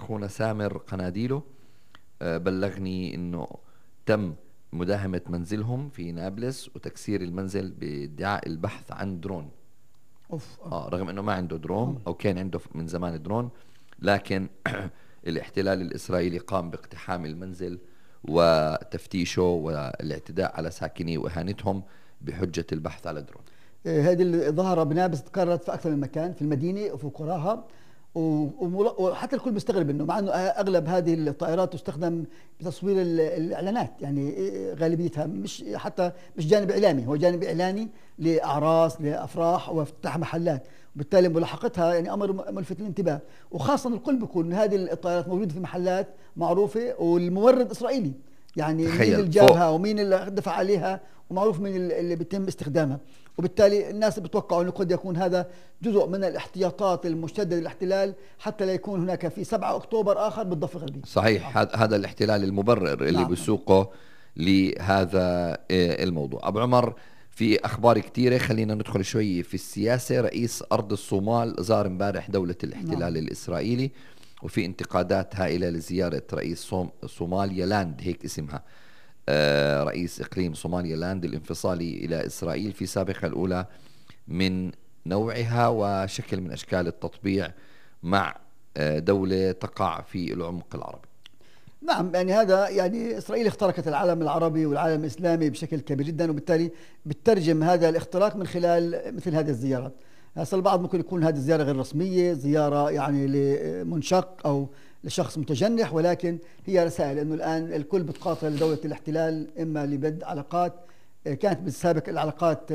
أخونا سامر قناديله بلغني إنه تم مداهمة منزلهم في نابلس وتكسير المنزل بادعاء البحث عن درون. رغم إنه ما عنده درون أو كان عنده من زمان درون، لكن الاحتلال الإسرائيلي قام باقتحام المنزل وتفتيشه والاعتداء على ساكنيه وإهانتهم بحجة البحث على درون. هذه الظاهرة بنابلس تكررت في أكثر من مكان في المدينة وفي قراها، وحتى الكل بيستغرب انه مع انه اغلب هذه الطائرات تستخدم بتصوير الاعلانات، يعني غالبيتها مش جانب اعلامي، هو جانب اعلاني لاعراس لافراح وافتتاح محلات، وبالتالي ملاحقتها يعني امر ملفت للانتباه، وخاصه الكل بيقول ان هذه الطائرات موجوده في محلات معروفه والمورد اسرائيلي، يعني مين اللي جابها ومين اللي دفع عليها ومعروف مين اللي بيتم استخدامها، وبالتالي الناس بتوقعوا انه قد يكون هذا جزء من الاحتياطات المشدده للاحتلال حتى لا يكون هناك في 7 أكتوبر اخر بالضفه الغربيه. صحيح. هذا الاحتلال المبرر اللي بيسوقه لهذا الموضوع. ابو عمر، في اخبار كثيره، خلينا ندخل شوي في السياسه. رئيس ارض الصومال زار امبارح دوله الاحتلال الاسرائيلي، وفي انتقادات هائله لزياره رئيس صوماليا لاند، هيك اسمها، رئيس إقليم صوماليا لاند الانفصالي إلى إسرائيل في سابقة الأولى من نوعها وشكل من أشكال التطبيع مع دولة تقع في العمق العربي. نعم، يعني هذا يعني إسرائيل اخترقت العالم العربي والعالم الإسلامي بشكل كبير جدا، وبالتالي بترجم هذا الاختراق من خلال مثل هذه الزيارات. هسه البعض ممكن يكون هذه الزيارة غير رسمية، زيارة يعني لمنشق أو لشخص متجنح، ولكن هي رسائل انه الان الكل بتقاتل دولة الاحتلال، اما لبدء علاقات كانت بالسابق العلاقات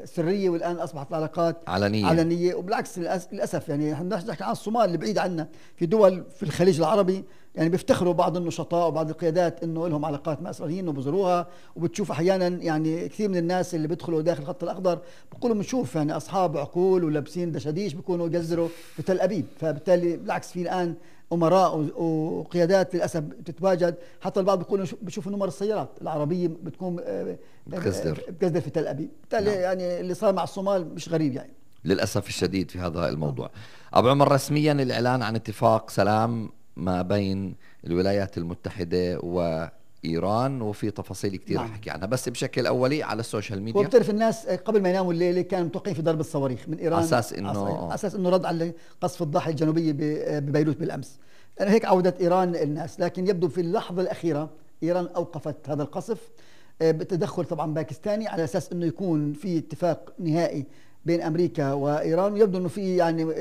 سرية والان اصبحت علاقات علنية. وبالعكس للاسف يعني احنا نحكي عن الصومال اللي بعيد عنا، في دول في الخليج العربي يعني بيفتخروا بعض النشطاء وبعض القيادات انه لهم علاقات مع اسرائيليين وبزوروها، وبتشوف احيانا يعني كثير من الناس اللي بيدخلوا داخل الخط الاخضر بيقولوا بنشوف يعني اصحاب عقول ولابسين دشاديش بيكونوا يجزروا في تل ابيب. فبالتالي بالعكس في الان امراء وقيادات للاسف بتتواجد، حتى البعض بيقولوا بشوفوا نمر السيارات العربيه بتكون بتقصدر في تل ابيب. بالتالي يعني اللي صار مع الصومال مش غريب يعني للاسف الشديد في هذا الموضوع. ابو عمر، رسميا الاعلان عن اتفاق سلام ما بين الولايات المتحده وايران، وفي تفاصيل كثير رح احكي عنها، بس بشكل اولي على السوشيال ميديا. وبتعرف الناس قبل ما يناموا الليله كانوا متوقعين في ضرب الصواريخ من ايران على اساس انه رد على قصف الضاحيه الجنوبيه ببيروت بالامس. أنا هيك عودت ايران الناس، لكن يبدو في اللحظه الاخيره ايران اوقفت هذا القصف بتدخل طبعا باكستاني على اساس انه يكون في اتفاق نهائي بين امريكا وايران. يبدو انه في يعني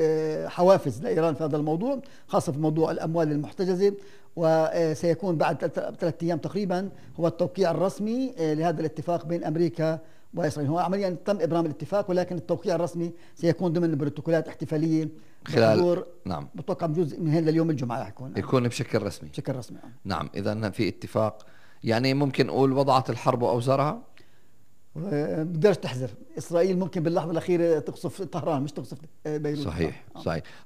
حوافز لايران في هذا الموضوع، خاصه في موضوع الاموال المحتجزه، وسيكون بعد 3 أيام تقريبا هو التوقيع الرسمي لهذا الاتفاق بين امريكا واسرائيل. هو عمليا تم ابرام الاتفاق، ولكن التوقيع الرسمي سيكون ضمن بروتوكولات احتفاليه خلال نعم بتوقع بجزء من هنا لليوم الجمعه يكون بشكل رسمي. نعم، اذا في اتفاق، يعني ممكن نقول وضعت الحرب اوزارها. بقدرش تحذر اسرائيل، ممكن باللحظه الاخيره تقصف طهران مش تقصف بيروت. صحيح.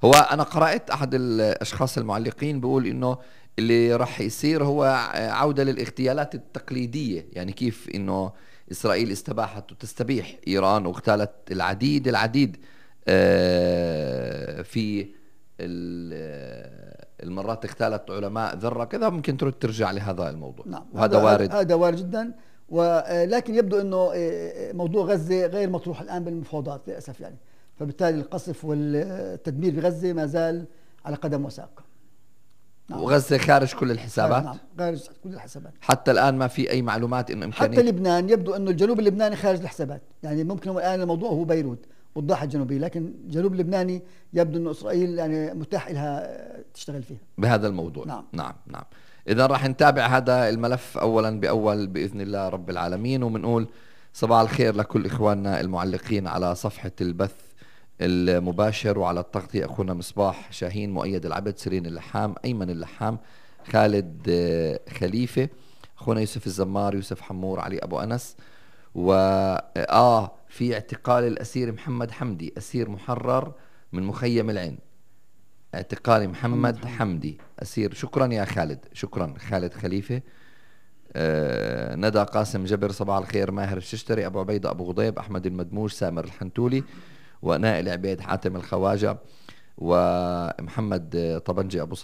هو انا قرات احد الاشخاص المعلقين بيقول انه اللي راح يصير هو عوده للاغتيالات التقليديه، يعني كيف انه اسرائيل استباحت وتستبيح ايران واغتالت العديد في المرات اغتالت علماء ذره كذا، ممكن ترجع لهذا الموضوع. نعم، وهذا وارد. هذا وارد جدا، ولكن يبدو انه موضوع غزه غير مطروح الان بالمفاوضات للاسف يعني، فبالتالي القصف والتدمير بغزه ما زال على قدم وساق. نعم. وغزه خارج كل الحسابات. نعم، خارج كل الحسابات حتى الان ما في اي معلومات انه امكانيه. حتى لبنان يبدو انه الجنوب اللبناني خارج الحسابات، يعني ممكن الان الموضوع هو بيروت والضاحيه الجنوبيه، لكن الجنوب اللبناني يبدو انه اسرائيل يعني متاح لها تشتغل فيها بهذا الموضوع. نعم. إذا راح نتابع هذا الملف أولا بأول بإذن الله رب العالمين، ومنقول صباح الخير لكل إخواننا المعلقين على صفحة البث المباشر وعلى التغطية، أخونا مصباح شاهين، مؤيد العبد، سيرين اللحام، أيمن اللحام، خالد خليفة، أخونا يوسف الزمار، يوسف حمور، علي أبو أنس، في اعتقال الأسير محمد حمدي، أسير محرر من مخيم العين، اعتقال محمد حمدي أسير. شكرا يا خالد، شكرا خالد خليفة. ندى قاسم جبر، صباح الخير. ماهر الششتري، أبو عبيدة أبو غضيب، أحمد المدموش، سامر الحنتولي، ونائل عبيد، حاتم الخواجة، ومحمد طبنجي أبو